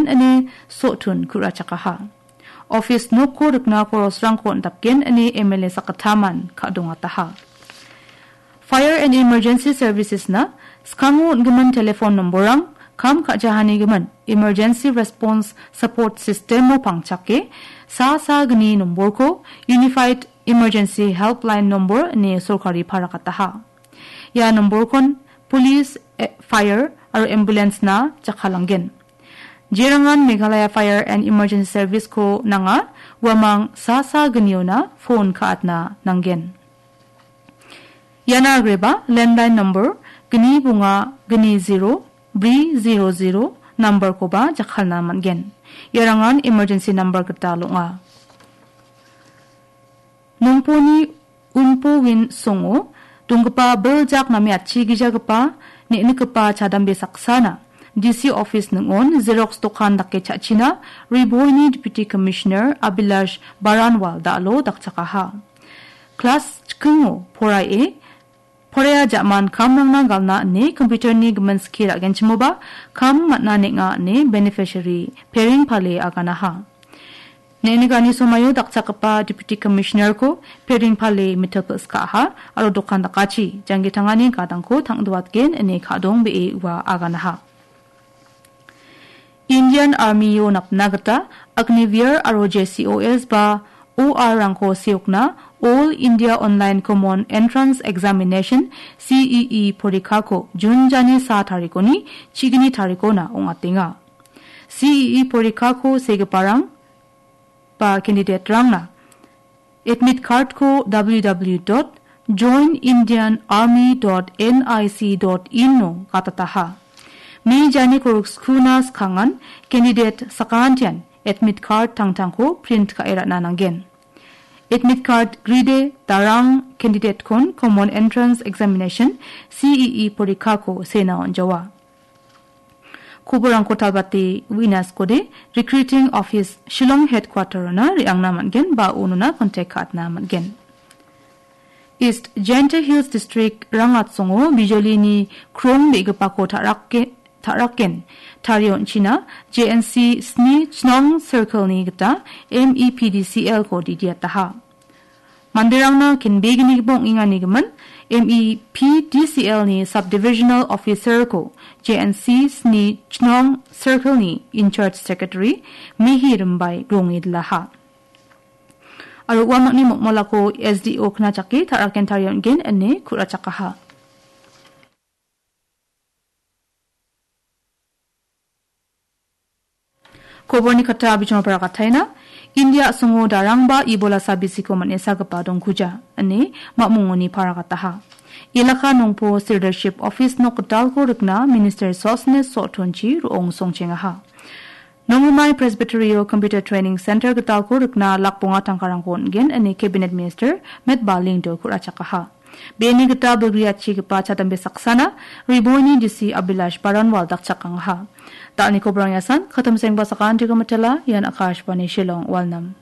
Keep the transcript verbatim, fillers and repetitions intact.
ine Sotun ku·rachakaha. Office nokko rikna korosrangko on·dapgen ine M L A sakgittamman ka·dongataha. Fire and Emergency Services-na skango on·gimin telephone nomborrang, kam ka·jahanigimin Emergency Response Support System-o pangchake, sa sa gni nomborko Unified Emergency Helpline nombor ine sorkari parakataha. Ia nomborkon police, eh, fire aro ambulance-na jakkalanggen. Jerangan Meghalaya Fire and Emergency Service-ko nanga, uamang sa sa gniona phone ka·atna nanggen. Iana agreba landline number gni bonga gni zero bri zero zero number-koba jakkalna man·gen. Iarangan emergency number gita ong·a. Nongponi Unpo Win songo donggipa biljak name atchigijagipa ne·nikgipa chadambe saksana D C office ning·on Xerox dokan dake cha·china Ri Bhoini Deputy Commissioner Abhilash Baranwal da·alo dakchakaha. Klas chikingo poraie, poraia ja·man kamrangna galna ine computer-ni gimin skie ra·genchimoba kam man·a neng·a ine beneficiary Pereng Pale aganaha. Ne·nigani somaio dakchakgipa Deputy Commissioner-ko Pereng Pale mitokil ska·aha aro dokan dakachi janggi tangani gadangko tang·duatgen ine ka·dong be·e ua aganaha. Indian Army-o napna gita Agniveer aro J C O S ba O R-rangko seokna All India Online Common Entrance Examination, C E E, porikhako June jani sa tarikoni chigni tarikona ong·atenga. C E E porikhako segiparang ba candidate-rangna admit card-ko W W W dot join Indian Army dot N I C dot in-o gatataha. Me jani korokskuna skangan candidate sakantian admit card tangtangko print ka·e ra·na nanggen. Admit card gride darang candidate-kon Common Entrance Examination, C E E porikhako sena on·jawa. Koborangko talbate uina skode, Recruiting Office Shillong Headquarter-ona re·angna man·gen ba unona contact ka·atna man·gen. East Jaintia Hills District Rangatsongo bijolini krong be·gipako ta·rake-, ta·raken tarie on·china J N C sni Chnong Circle-ni gita M E P D C L-ko didiataha. Manderangna kenbegnigipa ong·enganigimin M E P D C L-ni Subdivisional Officer-ko J N C sni Chnong Circle-ni In-charge Secretary Mihi Rimbai ronge dilaha. Aro uamangni mokmolako S D O knachake ta·raken tarie on·gen ine ku·rachakaha. Koborni kata bijimo parakataina, India a·songo darangba Ebola sabisiko man·e sagipa dongkuja, ine mamungoni parakataha. Elaka Nongpo Sirdarship Office nok gitalko rikna Minister Sosne Sotonchi ro·ong songchengaha. Nongrimai Presbyterio Computer Training Center gitalko rikna lak bonga tangkarangko on·gen, ine Cabinet Minister Met Baling do ku·rachakaha. Be·eni gita bilgriatchigipa chadambe saksana Ri Bhoini D C Abhilash Baranwal dakchakangaha. Da·alni koborang iasan, katamsengba sakantigo mitela, ian Akashvani Shillong, Walnam.